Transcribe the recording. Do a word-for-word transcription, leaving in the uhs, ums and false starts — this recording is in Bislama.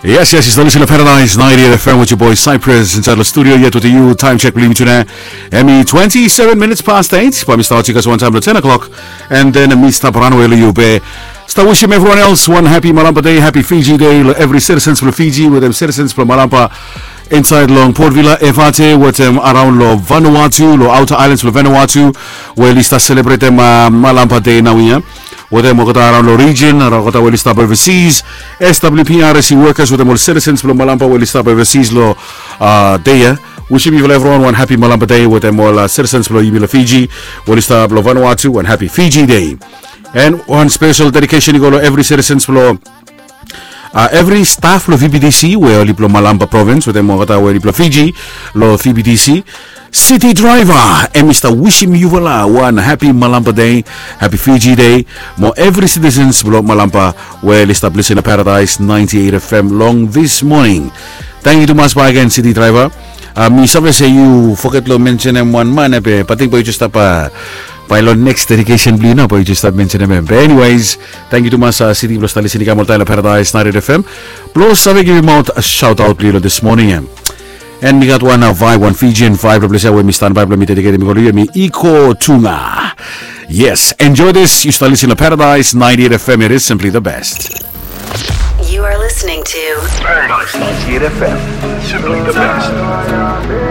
Yes, yes, yu stap lisin long Paradise ninety-eight F M with your boy Cyprus inside the studio yet with you. Time check blo yumi tune. Hemi twenty-seven minutes past eight. Bae mi stap olsem wantaem long ten o'clock. And then mi stap ranwe long yu be. Stap wishim everyone else one happy Malampa Day, happy Fiji Day long every citizens blo Fiji wetem citizens blo Malampa inside long Port Vila, Efate wetem araon long Vanuatu, long outer islands blo Vanuatu, we oli stap selebretem uh, Malampa Day naoia. Wetem olgeta araon long region, araon olgeta we oli stap overseas, S W P R S E workers wetem ol citizens blo Malampa we oli stap overseas long uh, day ia. Wishim yufala everyone one happy Malampa Day wetem ol uh, citizens blo yumi long Fiji we oli stap long Vanuatu, one happy Fiji Day. And one special dedication i go long every citizens blo uh, every staff lo V B T C we oli blo Malampa province wetem olgeta we oli blo Fiji lo V B T C. City driver, hemi stap wishim yufala one happy Malampa Day, happy Fiji Day. Mo every citizens blo Malampa we oli stap lisin long Paradise ninety-eight F M long this morning. Thank you tumas bae again, city driver. Uh, mi save se yu foget lo mentionem wan man, be bae mi ting bae yu jes stap uh, bae lo next dedication blo yu nao bae yu jes stap mentionem. Be anyways, thank you tumas uh, city blo stap lisin i kam oltaem long Paradise ninety-eight F M. Blo save givim out a shout out blo yu lo this morning em. And mi gat wan uh, vibe, wan Fijian vibe lo ples ia we mi standby blo mi dediketem i go lo yu, hemi Iko Tunga. Yes, enjoy this. Yu stap lisin long Paradise ninety-eight F M. It is simply the best. You are listening to Paradise ninety-eight F M. Simply the best.